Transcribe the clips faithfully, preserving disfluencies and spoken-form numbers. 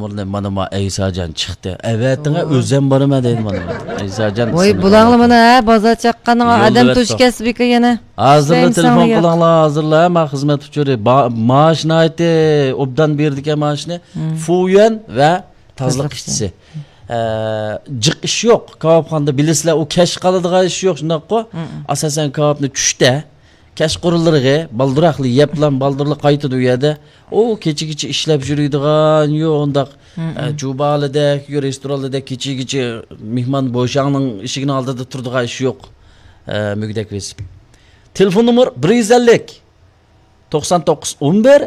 نومۇرنى مانا ما ئەيساجان چىقتى. ئەۋەتىڭە، ئۆزۈم بارىمەن دەيدۇ مانا. ئەيساجان، ۋاي، بىسمىللا. بۇلاڭلا مانا، ھە، بازار چاققانغا يولدا ئادەم ئەۋەتتۇق. توشكەسبىكى يەنە. ھازىرلا ئىشلەيمىسەڭ تېلېفون دېگەن. قىلىڭلار، ھازىرلا، ھە، ما خىزمەت ئۇچۇرى. با-، مائاش ناھايىتى ئوبدان بېرىدىكەن مائاشنى. مم. فۇيۈەن ۋە تازىلىق تازىلىق ئىشچىسى. ئىشچى. ئە، جىق ئىش يوق. كاۋاپخانىدا بىلىسىلەر، ئۇ كەچ قالىدىغان ئىش يوق، شۇنداققۇ؟ مم. ئاساسەن كاۋاپنى چۈشتە، كەچقۇرۇنلىرىغا بالدۇراقلا يەپلا بالدۇرلا قايتىدۇ ئۇ يەردە. ئۇ كېچىگىچە ئىشلەپ يۈرىدىغان، يو، ئۇنداق، مم. ئە، جۇبالىدەك، يو، رېستورانلاردەك كېچىگىچە مېھمان بوشاڭنىڭ ئىشىكىنىڭ ئالدىدا تۇرىدىغان ئىش يوق. ئە، مۈگدەك بېسىپ. تېلېفون نومۇر بىر يۈز ئەللىك، توقسان توققۇز ئون بىر،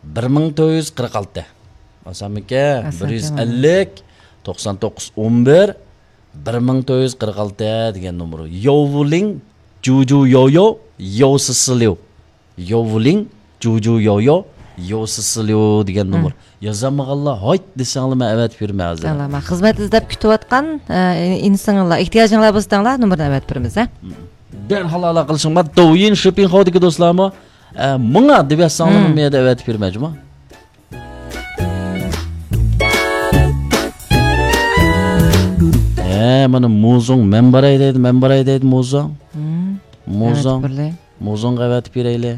بىر مىڭ تۆت يۈز قىرىق ئالتە. ئاسانمىكەن؟ ئاسان بىر يۈز ئەللىك، توقسان توققۇز ئون بىر، بىر مىڭ تۆت يۈز قىرىق ئالتە دېگەن نومۇر. يوۋلىڭ، جۇجۇ يويو، يوسىسىليۇ. يوۋلىڭ، جۇجۇ يويو، يوسىسىليۇ دېگەن نومۇر. يازالمىغانلار ھايت دېسەڭلار، مەن ئەۋەتىپ بېرىمەن ھازىر. ئەلا، مانا خىزمەت ئىزدەپ كۈتۈۋاتقان، ئە، ئىنسانلار، ئېھتىياجىڭلار بولسا دەڭلار، نومۇرنى ئەۋەتىپ بېرىمىز، ھە؟ دەرھال ئالاقىلىشىڭلار. دوۋيىن شىپىڭخاۋدىكى دوستلارمۇ، ئە، ماڭا دەپ يازساڭلار، مم، مەن يەردە ئەۋەتىپ بېرىمەن، جۇما. ھە، مانا موزۇڭ، مەن باراي دەيدۇ، مەن باراي دەيدۇ، موزۇڭ. مم. موزۇڭ. ئەۋەتىپ بېرىلى. موزۇڭغا ئەۋەتىپ بېرەيلى.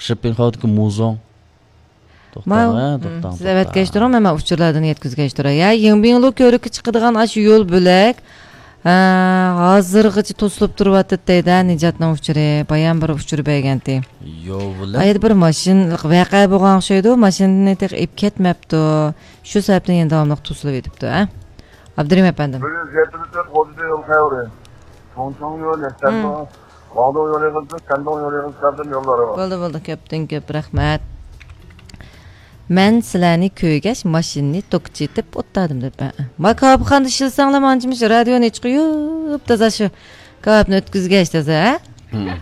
شىپىڭخاۋدىكى موزۇڭ. توختاڭ، ماۋۇ، ھە، مم، توختاڭ، سىز توختاڭ. ئەۋەتكەچ تۇرۇڭ، مەن، مەن ئۇچۇرلاردىن يەتكۈزگەچ تۇراي. يا، يىڭبىڭلۇ كۆۋرۈككە چىقىدىغان ئاشۇ يول بۆلەك، ھە، ھازىرغىچە توسۇلۇپ تۇرۇۋاتىدۇ دەيدۇ، ھە، نىجاتنىڭ ئۇچۇرى. بايام بىر ئۇچۇر بەرگەنتى. يول بۆلەك؟ ئايدا بىر ماشىنىلىق ۋەقە بولغان ئوخشايدۇ، ماشىنىنى تېخى ئېلىپ كەتمەپتۇ. شۇ سەۋەبتىن يەنە داۋاملىق توسۇلۇۋېتىپتۇ، ھە. ئابدۇرېھىم ئەپەندىم. بىر يۈز يەتمىش تۆت خوجىدى يول خەۋىرى. چوڭچوڭ يولى، مم. سەندۇ. ۋاڭدۇڭ يولى قىلسا، سەندۇڭ يولى قىلسا، يوللار بار. بولدى، بولدى، كۆپتىن كۆپ رەھمەت. مەن سىلەرنى كۆرگەچ، ماشىنىنى توكچىتىپ ئولتۇردۇم دەپ. ھە. ما كاۋاپخانىدا ئىشلىسەڭلار، مانچە مۇشۇ رادىيونى ئېچىپ قويۇپ، تازا شۇ كاۋاپنى ئۆتكۈزگەچ، تازا، ھە؟ مم.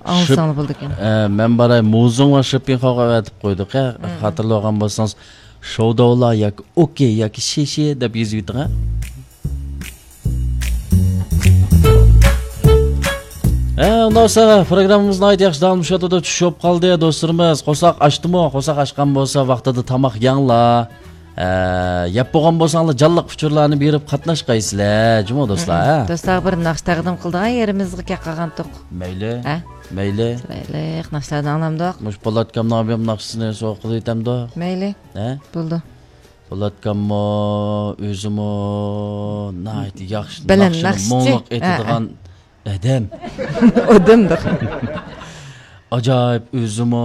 ئاڭلىساڭلار بولىدىكەن. ئە، مەن باراي، موزۇڭ ۋە شىپىڭخاۋغا ئەۋەتىپ قويدۇق، ھە؟ مم. خاتىرىلىۋالغان بولسىڭىز، شوۋداۋلا ياكى ئوكەي ياكى شىشى دەپ يېزىۋېتىڭ، ھە؟ ھە، ئۇنداق بولسا، پروگراممىمىز ناھايىتى ياخشى داۋاملىشىۋاتىدۇ. چۈش بولۇپ قالدى، دوستلىرىمىز. قورساق ئاچتىمۇ؟ قورساق ئاچقان بولسا، ۋاقتىدا تاماق يەڭلار. ھە، يەپ بولغان بولساڭلار، جانلىق ئۇچۇرلارنى بېرىپ قاتناشقايسىلەر، جۇمۇ دوستلار، ھە؟ دوستلارغا بىر ناخشا تەقدىم قىلىدىغان يېرىمىزگە كەپ قالغانتۇق. مەيلى. ھە؟ مەيلى. چىرايلىق ناخشىلارنى ئاڭلامدۇق. مۇشۇ پولاتكامنىڭ ئابىيام ناخشىسىنى سوقۇپ قىلىۋېتەمدۇ؟ مەيلى. ھە؟ بولىدۇ. پولاتكاممۇ، ئۆزىمۇ ناھايىتى ياخشى، بەلەن ناخشىنى ناخشىچى. مۇڭلۇق ھە، ئېيتىدىغان ئادەم. ئادەم دە. ئاجايىپ، ئۆزىمۇ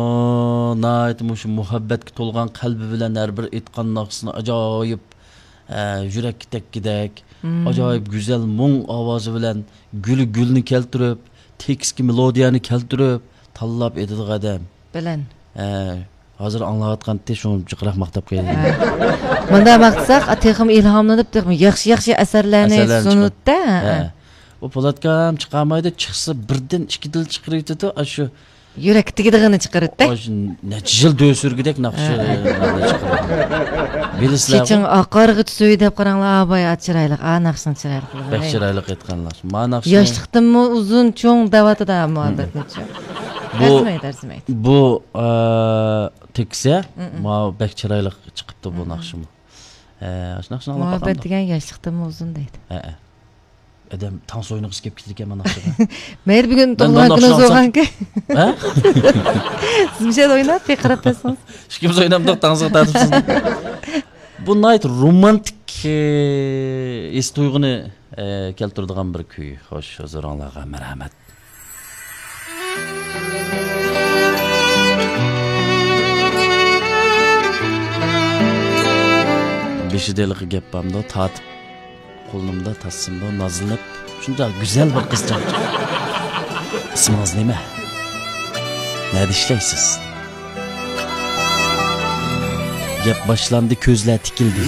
ناھايىتى مۇشۇ مۇھەببەتكە تولغان قەلبى بىلەن ھەر بىر ئېيتقان ناخشىسىنى ئاجايىپ، ئە، يۈرەككە تەگكۈدەك، مم، ئاجايىپ گۈزەل مۇڭ ئاۋازى بىلەن گۈلى گۈلنى كەلتۈرۈپ، تېكىستكە مېلودىيەنى كەلتۈرۈپ، تاللاپ ئېيتىدىغان ئادەم. بەلەن. ھە، ھازىر ئاڭلاۋاتقانتى، شۇڭا جىقراق ماختاپ قوياي. ھە. مۇنداق ماختىساق، ئا، تېخىمۇ ئىلھاملىنىپ، تېخىمۇ ياخشى، ياخشى ئەسەرلەرنى ئەسەرلەرنى چىقىرىدۇ. سۇنۇپتۇ. ھە. ئۇ پولاتكام چىقارمايدۇ، چىقسا بىردىن ئىككى دىل چىقىرىۋېتىدۇ، ئاشۇ يۈرەككە تېگىدىغىنى چىقىرىدۇ. ئاشۇ نەچچە يىل دۆي سۈرگۈدەك ناخشا، ھە، ھە، ناخشا چىقىرىدۇ. بىلىسىلەرغۇ. چېچىڭ ئاقارغىچە سۆي دەپ قاراڭلار، ئا باي، ئا چىرايلىق، ئا ناخشىنىڭ چىرايلىقلىقىنى. بەك چىرايلىق ئېيتقان ناخشا. ما ناخشا. ياشلىقتىنمۇ ئۇزۇن چوڭ دەۋاتىدۇ ھە، مۇھەببەتنى چوڭ. بۇ، ئەرزىمەيدۇ، ئەرزىمەيدۇ. بۇ، ئە، تېكىسى، مم. ما بەك چىرايلىق چىقىپتۇ بۇ، مم، ناخشىمۇ. ئە، ئاشۇ ناخشىنى ئاڭلاپ مۇھەببەت باقامدۇ؟ دېگەن ياشلىقتىنمۇ ئۇزۇن دەيدۇ. ھە، ھە. ئادەم تانسا ئوينىغۇسى كېلىپ كېتىدىكەن مانا ناخشىغا. مەيلى، بۈگۈن مەن تۇغۇلغان مانا كۈنىڭىز ناخشا بولغانكەن. ھە؟ سىز مۇشۇ يەردە ئويناپ، بىر قاراپ بەرسىڭىز. ئىككىمىز ئوينامدۇق، تانسىغا تارتىپسىز. بۇ ناھايىتى رومانتىك، ئە، ھېس تۇيغۇنى، ئە، كەلتۈرىدىغان بىر كۈي. خوش، ھۇزۇرۇڭلارغا مەرھەمەت. بېشىدا ھېلىقى گەپ بارمىدۇ، تارتىپ قولۇمدا تارتسىمدۇ، نازلىنىپ، شۇنداق گۈزەل بىر قىزچاق. ئىسمىڭىز نېمە؟ نەدە ئىشلەيسىز؟ گەپ باشلاندى، كۆزلەر تىكىلدى.